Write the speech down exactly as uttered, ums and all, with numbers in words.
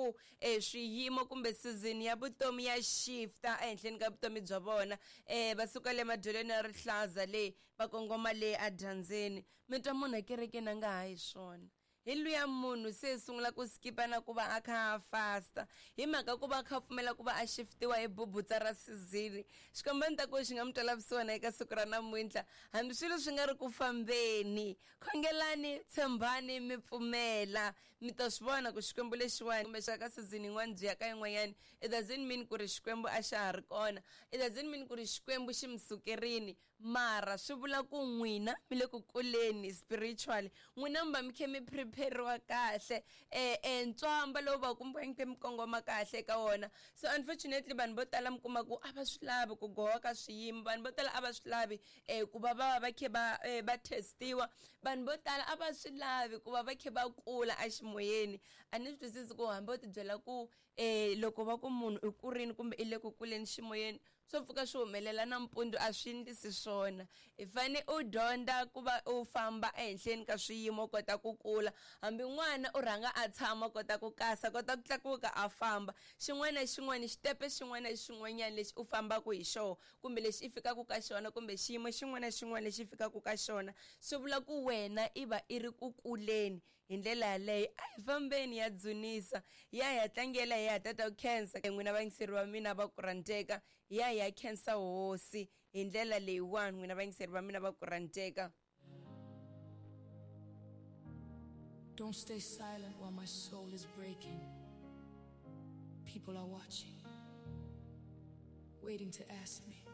ku um swiyimo kumbe season ya vutomi ya shifta ehenhleni ka vutomi bya vona um va suka le madyelweni ya rihlaza leyi va kongoma le edyambyini mi twa munhu ekerekeni a nga ha yi swona hi luya munhu se sungula ku skipa na ku va a kha a fasta hi mhaka ku va a kha a pfumela ku va a shiftiwa hi bubutsa ra season xikwembu ni ta ku xi nga mi twela vusiwana eka siku ra namuntlha hambi swilo swi nga ri ku fambeni khongelani tshembani mi pfumela mi ta swi vona ku xikwembu lexiwani kumbe xa ka season yin'wana byi ya ka yin'wanyani it doesn't mean ku ri xikwembu a xa ha ri kona it doesn't mean ku ri xikwembu xi mi sukerini mara swi vula ku n'wina mi le ku kuleni spiritually n'wina mi va mi khe mi prepariwa kahle eh eh ntswamba lowu va kumbe mi khe mi kongoma kahle eka wona so unfortunately vanhu vo tala mi kuma ku a va swi lavi ku gowa ka swiyimo vanhu vo tala a va swi lavi eh ku va va va khe va eh, va testiwa vanhu vo tala a va swi lavi ku va va khe va kula eximoyeni a ni swi twisisi ku hambi u tibyela ku eh loko va ku munhu i kurini kumbe i le ku kuleni ximoyeni swo pfuka swi humelela nampundzu a swi endlisi swona i fane u dyondza ku va u famba ehenhleni ka swiyimo u kota ku kula hambi n'wana u rhanga a tshama kota ku kasa kota ku tlakuka a famba xin'wana na xin'wana xitepe xin'wana na xin'wanyana lexi u fambaka hi xona kumbe lexi i fikaka ka xona kumbe xiyimo xin'wana na xin'wana lexi fikaka ka xona swi vula ku wena i va i ri ku kuleni hi ndlela yaleyo a hi fambeni ya dzunisa ya hi ya tlangela hi ya tata ku khensa n'wina vayingiseri va mina va ku rhandzeka ya hi ya khensa hosi hi ndlela leyiwani n'wina vayingiseri va mina va ku rhandzeka. Don't stay silent while my soul is breaking. People are watching, waiting to ask me,